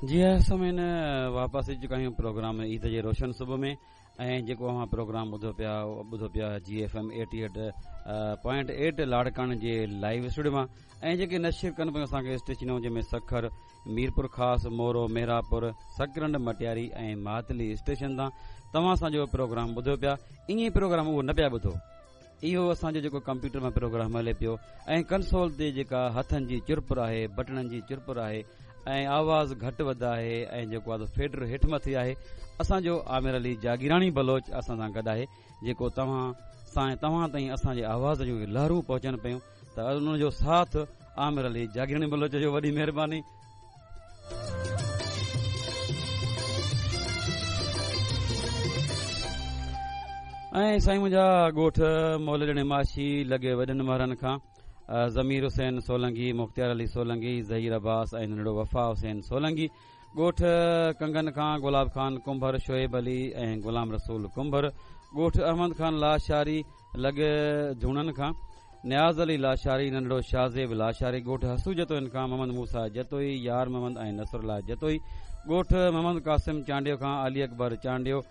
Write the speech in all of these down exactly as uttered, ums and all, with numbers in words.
جي ها سامعين، واپس اچي چڪا آهيون پروگرام عيد جي روشن صبح ۾، ۽ جيڪو اوهان پروگرام ٻڌو پيا ٻڌو پيا جي F M eighty eight point eight لاڙڪاڻي جي لائيو اسٽوڊيو مان، ۽ جيڪي نشر ڪن پيون اسان کي اسٽيشنون، جنهن ۾ سکر، ميرپور خاص، مورو، مهراپور، سڪرنڊ، مٽياري ۽ ماتلي اسٽيشن تان توهان اسان جو پروگرام ٻڌو پيا. ائين ئي پروگرام اهو نه پيا ٻڌو، اهو اسان جو جيڪو ڪمپيوٽر ۾ پروگرام هلي پيو ۽ ڪنسول تي جيڪا هٿن جي چرپر آهي، بٽڻن جي چرپر آهي ۽ آواز گهٽ وڌ آهي ۽ جيڪو آهي فيڊر هيٺ مٿي آهي، اسان جو عامر علي جاگيراڻي بلوچ اسان سان گڏ آهي، جيڪو توهان سان توهان تائين اسان جي آواز جون لهرون پهچن پيون، ته ان جو ساٿ عامر علي جاگيراڻي بلوچ جو وڏي مهرباني. ۽ سائين منهنجا ڳوٺ مولڏڻي ماشي لڳي وڏن مهرن کان ضمير حسين سولنگي، مختيار علي سولنگي، ظهير عباس ۽ ننڍڙو وفا حسين سولنگي، ڳوٺ ڪنگن کان گلاب خان ڪنڀر، شعيب علي ۽ غلام رسول ڪنڀر، ڳوٺ احمد خان لاشاري لڳي جهونن کان نياز علي لاشاري، ننڍڙو شاهزيب لاشاري، ڳوٺ حسو جتوئين کان محمد موسيٰ جتوئي، يار محمد ۽ نصر الله جتوئي، ڳوٺ محمد قاسم چانڊيو کان علي اڪبر چانڊيو،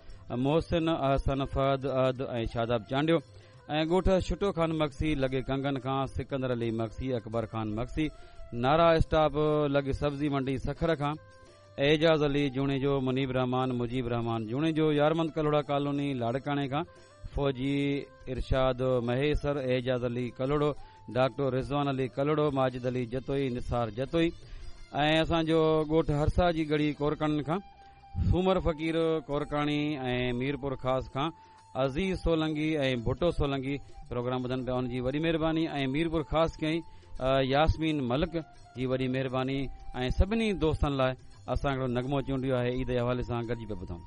محسن احسن، فهد احد ۽ شاداب چانڊيو، ۽ ڳوٺ شٽو خان مگسي لڳي ڪنگن کان سڪندر علي مگسي، اڪبر خان مگسي، نارا اسٽاپ لڳي سبزي منڊي سکر کان اعجاز علي جوڻيجو، منيب رحمان، مجيب رحمان جوڻيجو، يارمند ڪلهوڙا ڪالوني لاڙڪاڻي کان فوجي ارشاد مهيسر، اعجاز علي ڪلهوڙو، ڊاڪٽر رضوان علي ڪلهوڙو، ماجد علي جتوئي، نثار جتوئي، ۽ اسان جو ڳوٺ هرسا جي ڳڙهي ڪورڪاڻين کان سومر فقير ڪورڪاڻي ۽ ميرپور خاص کان عزيز سولنگي ۽ ڀٽو سولنگي پروگرام ٻڌن پيا، ان جي وڏي مهرباني. ۽ ميرپور خاص ڪئين ياسمين ملڪ جي وڏي مهرباني. ۽ سڀني دوستن لاء اسان هڪڙو نغمو چونڊيو آهي عيد جي حوالي سان، گڏجي پيا ٻڌون.